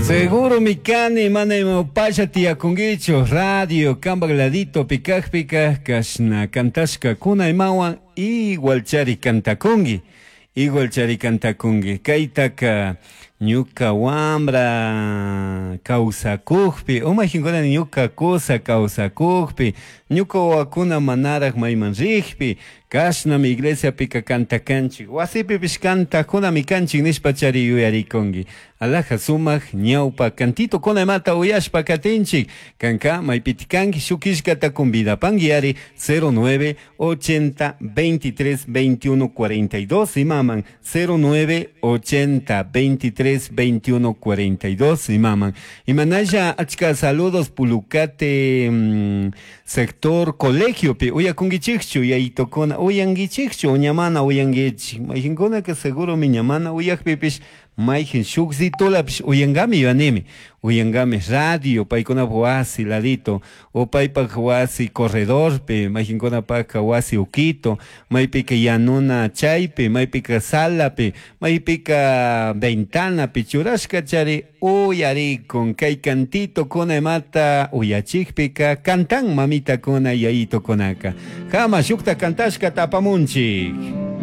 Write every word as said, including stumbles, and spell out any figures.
Seguro mi kani mana imapasha tiyakunkichu radio kambak laditopi kajpika kashna kantashkakuna imawan igual chari kantakunki igual chari kantakunki kaytaka ñuka wambra kawsakukpi umajinkuna ñuka kusa kawsakukpi ñuka wawakuna manaraj mayman rikpi kashnami iglesiapika kantakanchik wasipipish kantakunami kanchik nishpa chari yuyarikunki alaja sumak ñawpa cantitokuna imata uyashpa katinchik kanka maypiti kanki shuk killkata convidapanki ari cero nueve ochenta veintitrés veintiuno cuarenta y dos imaman cero nueve ochenta veintitrés veintiuno cuarenta y dos imaman imanalla achka saludos Pulucate mm, sector colegiopi uyakunkichikchu yayitokuna uyankichikchu uñamana uyankichik mayqinkunaka seguro ñamana uyakpipish mayqin shukzitulapish uyankami yuyanimi uyankami radio paykunapaq wasi ladito o paypak wasi corredorpi mayqinkunapaka wasi ukito maypika yanuna chaypi maypika salapi maypika ventanapi churashka chari uyarikun kay cantitokuna imata uyachikpika kantan mamitakuna yayitokunaka kama shukta kantashkata apamunchik.